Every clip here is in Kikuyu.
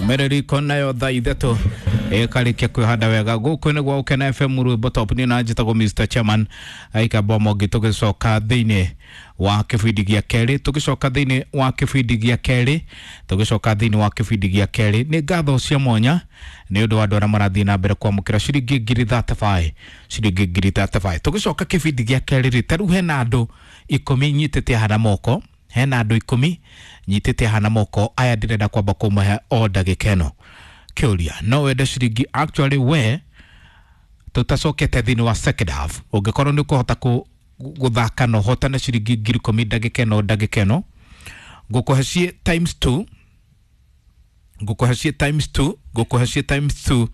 Mereriko nayo thaa ithatũ ĩkarĩkia kwĩhanda wega gũkũ nĩ gwa Ũkena FM rwĩmbo top nĩ na njĩtagwo Mr Chairman aikamba mongi tũgĩcoka thĩinĩ wa kĩbindi gĩa kerĩ tũgĩcoka thĩinĩ wa kĩbindi gĩa kerĩ tũgĩcoka thĩinĩ wa kĩbindi gĩa kerĩ nĩ ngatho cia mwanya nĩ ũndũ wa andũ arĩa marathiĩ na mbere kwamũkĩra ciringi ngiri 35 ciringi ngiri 35 tũgĩcoka kĩbindi gĩa kerĩ rĩ ta rĩu hena andũ ikũmi nyitĩte haha na moko hena andũ ikũmi nyitĩte haha na moko aya ndĩrenda kwamba kũmahe o ndagĩka ĩno kĩũria no wende ciringi actually we tũtacokete thĩinĩ wa second half ũngĩkorwo nĩ ũkũhota gũthaka na ũhotane ciringi ngiri ikũmi ndagĩka ĩno ndagĩka ĩno ngũkũhe ciĩ times two ngũkũhe ciĩ times two ngũkũhe ciĩ times two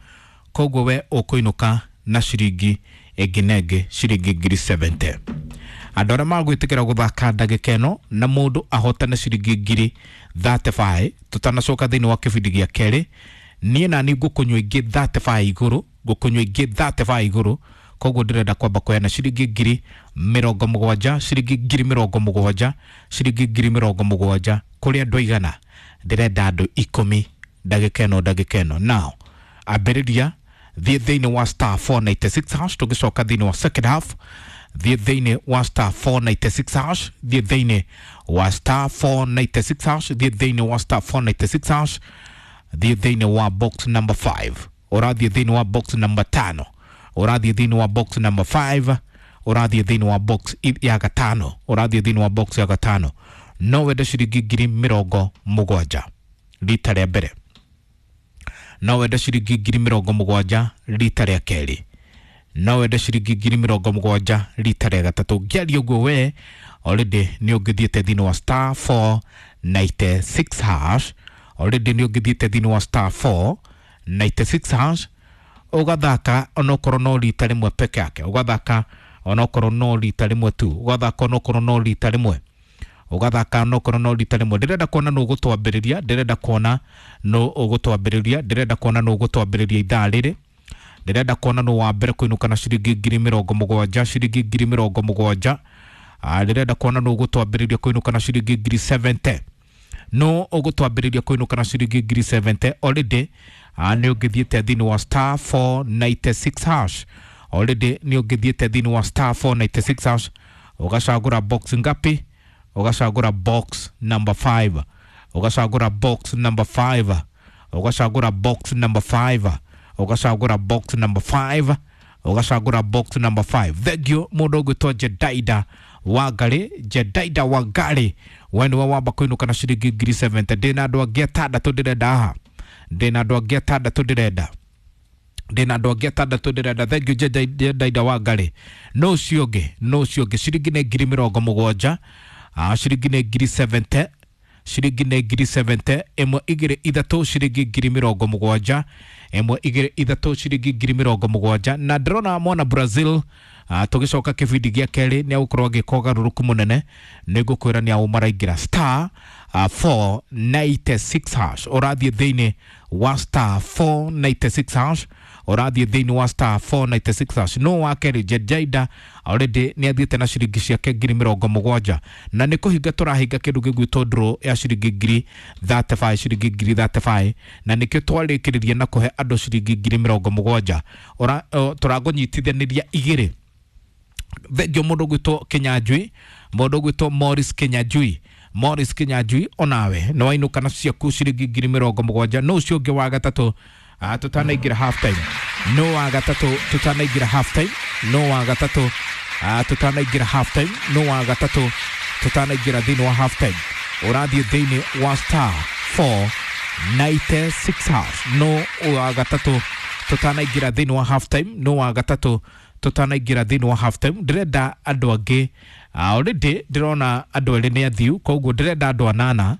koguo we ũkũinũka na ciringi ĩngĩ na ĩngĩ ciringi ngiri 70 andũ arĩa magwĩtĩkĩra gũthaka ndagĩka ĩno na mũndũ ahotane ciringi ngiri 35 tũtanacoka thĩinĩ wa kĩbindi gĩa kerĩ niĩ nani ngũkũnyua ingĩ 35 igũrũ ngũkũnyua ingĩ 35 igũrũ koguo ndĩrenda kwamba kũheana ciringi ngiri mĩrongo mũgwanja ciringi ngiri mĩrongo mũgwanja ciringi ngiri mĩrongo mũgwanja kũrĩ andũ aigana ndĩrenda andũ ikũmi ndagĩka ĩno ndagĩka ĩno now ambĩrĩria thiĩ thĩinĩ wa star 496 hash tũgĩcoka thĩinĩ wa second half thiĩ thĩinĩ wa star 496 hash thiĩ thĩinĩ wa star 496 hash thiĩ thĩinĩ wa star 496 hash thiĩ thĩinĩ wa box number 5 ũrathiĩ thĩinĩ wa box number 5 ũrathiĩ thĩinĩ wa box number 5 ũrathiĩ thĩinĩ wa box ya gatano ũrathiĩ thĩinĩ wa box ya gatano no wende ciringi ngiri mĩrongo mũgwanja rita rĩa mbere no wende ciringi ngiri mĩrongo mũgwanja rita rĩa kerĩ no wende ciringi ngiri mĩrongo mũgwanja rita rĩa gatatũ ngĩaria ũguo we already nĩ ũngĩthiĩte thĩinĩ wa star 496 hash already nĩ ũngĩthiĩte thĩinĩ wa star 496 hash ũgathaka onokorwo no rita rĩmwe peke yake ũgathaka onokorwo no rita rĩmwe tu ũgathaka onokorwo no rita rĩmwe ũgathaka onokorwo no rita rĩmwe ndĩrenda kuona nũ ũgũtwambĩrĩria ndĩrenda kuona nũ ũgũtwambĩrĩria ndĩrenda kuona nũ ũgũtwambĩrĩria ithaa rĩrĩ ndĩrenda kuona nũ wa mbere kũinũka na ciringi ngiri mĩrongo mũgwanja ciringi ngiri mĩrongo mũgwanja ndĩrenda kuona nũ ũgũtwambĩrĩria kũinũka na ciringi ngiri 70 no ũgũtwambĩrĩria kũinũka na ciringi ngiri 70 already nĩ ũngĩthiĩte thĩinĩ wa star 496 hash already nĩ ũngĩthiĩte thĩinĩ wa star 496 hash ũgacagũra box ngapi ũgacagũra box number 5 ũgacagũra box number 5 ũgacagũra box number 5 ũgacagũra box number 5 ũgacagũra box number 5 thengio mũndũ ũgwĩtwo Jedaida Wangari Jedaida Wangari we nĩwe wamba kũinũka na ciringi ngiri 70 ndĩna andũ angĩ atandatũ ndĩrenda haha ndĩna andũ angĩ atandatũ ndĩrenda ndĩna andũ angĩ atandatũ ndĩrenda thengio Jedaida Wangari no ũcio ũngĩ no ũcio ũngĩ ciringi nĩ ngiri mĩrongo mũgwanja ciringi nĩ ngiri 70 ciringi nĩ ngiri 70 ĩmwe igĩrĩ ithatũ ciringi ngiri mĩrongo mũgwanja ĩmwe igĩrĩ ithatũ ciringi ngiri mĩrongo mũgwanja na ndĩrona mwana Brazil tũgĩcoka kĩbindi gĩa kerĩ nĩ agũkorwo agĩka ũgarũrũku mũnene nĩ ngũkwĩra nĩ aũ maraingĩra star 496 hash ũrathiĩ thĩinĩ wa star 496 hash ũrathiĩ thĩinĩ wa star 496 hash no wa kerĩ Jejaida already nĩ athiĩte na ciringi ciake ngiri mĩrongo mũgwanja na nĩ kũhinga tũrahinga kĩndũ gĩgwĩtwo draw ya ciringi ngiri 35 ciringi ngiri 35 na nĩkĩo twarĩkĩrĩria na kũhe andũ ciringi ngiri mĩrongo mũgwanja tũragũnyitithanĩria igĩrĩ thengio mũndũ ũgwĩtwo Kinyanjui mũndũ ũgwĩtwo Morris Kinyanjui Morris Kinyanjui onawe nĩ wainũka na ciaku ciringi ngiri mĩrongo mũgwanja no ũcio ũngĩ wa gatatũ tũtanaingĩra half time no wa gatatũ tũtanaingĩra half time no wa gatatũ tũtanaingĩra half time no wa gatatũ tũtanaingĩra thĩinĩ wa half time ũrathiĩ thĩinĩ wa star 496 hash no wa gatatũ tũtanaingĩra thĩinĩ wa half time no wa gatatũ tũtanaingĩra thĩinĩ wa half time ndĩrenda andũ angĩ already ndĩrona andũ erĩ nĩ athiu koguo ndĩrenda andũ anana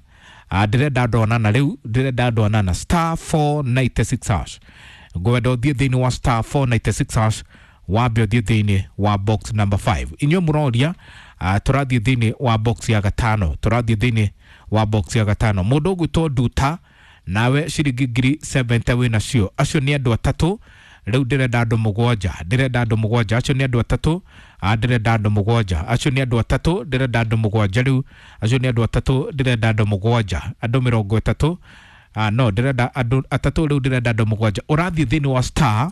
ndĩrenda andũ anana rĩu ndĩrenda andũ anana star 496 hash ngwenda ũthiĩ thĩinĩ wa star 496 hash wambe ũthiĩ thĩinĩ wa box number 5 inyuĩ mũroria tũrathiĩ thĩinĩ wa box ya gatano tũrathiĩ thĩinĩ wa box ya gatano mũndũ ũgwĩtwo Nduta nawe ciringi ngiri 70 wĩ nacio acio nĩ andũ atatũ rĩu ndĩrenda andũ mũgwanja ndĩrenda andũ mũgwanja acio nĩ andũ atatũ ndĩrenda andũ mũgwanja acio nĩ andũ atatũ ndĩrenda andũ mũgwanja rĩu acio nĩ andũ atatũ ndĩrenda andũ mũgwanja andũ mĩrongo ĩtatũ No ndĩrenda andũ atatũ rĩu, ndĩrenda andũ mũgwanja. Ũrathiĩ thĩinĩ wa star,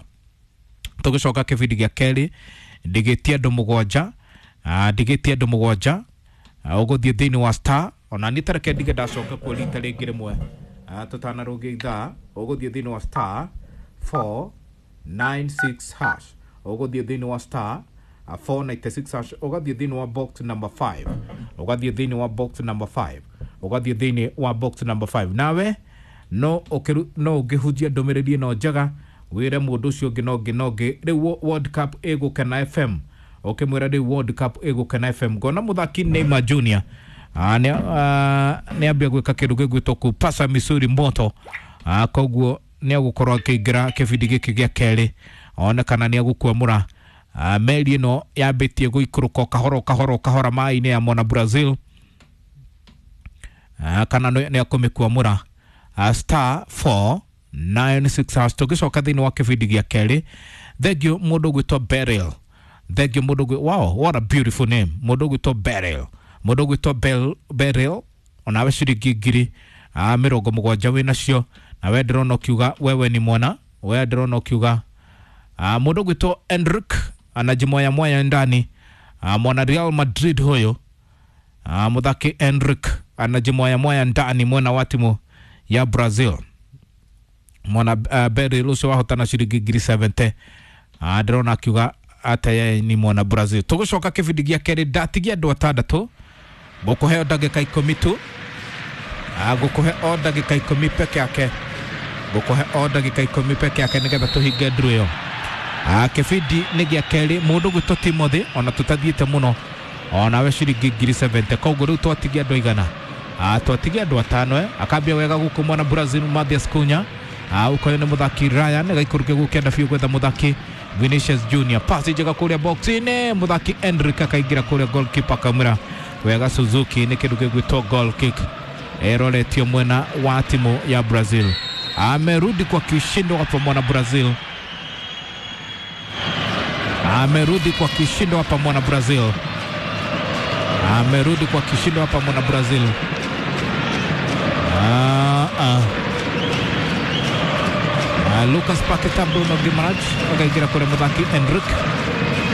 tũgĩcoka kĩbindi gĩa kerĩ ndigĩtie andũ mũgwanja, ndigĩtie andũ mũgwanja. Ũgũthiĩ thĩinĩ wa star, ona niĩ tareke ndige ndacoka kuo rita rĩngĩ rĩmwe, tũtanarũngia ithaa. Ũgũthiĩ thĩinĩ wa star 496 hash, ũgũthiĩ thĩinĩ wa star 496 hash, ũgathiĩ thĩinĩ wa box number 5, ũgathiĩ thĩinĩ wa box number 5, ũgathiĩ thĩinĩ wa box number 5. Nawe no ũkĩru, no ũngĩhunjia ndũmĩrĩri ĩno njega, wĩre mũndũ ũcio ũngĩ no ũngĩ no ũngĩ. Rĩu World Cup ĩgũkena FM, ũkĩmwĩra rĩu World Cup ĩgũkena FM. Ngona mũthaki Neymar Junior nĩ ambia gwĩka kĩndũ gĩgwĩtwo kupasa misuri moto, koguo nĩ agũkorwo akĩingĩra kĩbindi gĩkĩ gĩa kerĩ, one kana nĩ agũkwamũra meri ĩno yambĩtie gũikũrũka o kahora o kahora o kahora maĩ-inĩ ya mona Brazil, kana nĩ akũmĩkwamũra. Star 496 hash, tũgĩcoka thĩinĩ wa kĩbindi gĩa kerĩ. Thengio mũndũ ũgwĩtwo Beryl, thengio mũndũ ũgwĩ, wow, what a beautiful name, mũndũ ũgwĩtwo Beryl, mũndũ ũgwĩtwo Beryl, onawe ciringi ngiri 70 wĩ nacio. Na we ndĩrona ũkiuga wewe ni mwana, we ndĩrona ũkiuga mũndũ ũgwĩtwo Enric anajimoya moya ndani, mwana Real Madrid huyo, mũthaki Enric anajimoya moya ndani mwena wa timu ya Brazil. Mwana Beryl ũcio wahotana ciringi ngiri 70, ndĩrona akiuga atĩ yeye ni mwana Brazil. Tũgũcoka kĩbindi gĩa kerĩ, ndatigia andũ atandatũ, ngũkũhe o ndagĩka 10 tu, ngũkũhe o ndagĩka 10 peke yake, ngũkũhe o ndagĩka 10 peke yake nĩgetha tũhinge nduru ĩyo. Kĩbindi nĩ gĩa kerĩ, mũndũ gwĩtwo Timothy, ona tũtathiĩte mũno, onawe ciringi ngiri 70. Koguo rĩu twatigia andũ aigana? Twatigia andũ atano. Akambia wega gũkũ mwana Brazil Mathias Cunha, ũkoyo nĩ mũthaki Ryan, gaikũrũke gũkĩenda biũ gwetha mũthaki Vinicius Junior, pasi njega kũrĩa box-inĩ, mũthaki Endrick akaingĩra kũrĩa, goalkeeper akamwĩra wega Suzuki, nĩ kĩndũ gĩgwĩtwo goal kick eroretio mwena wa timu ya Brazil. Amerudi kwa kishindo hapa mwana Brazil, amerudi kwa kishindo hapa mwana Brazil, amerudi kwa kishindo hapa mwana Brazil. Lucas Paqueta, Bruno Guimaraes akaingĩra kũrĩ mũthaki Enric.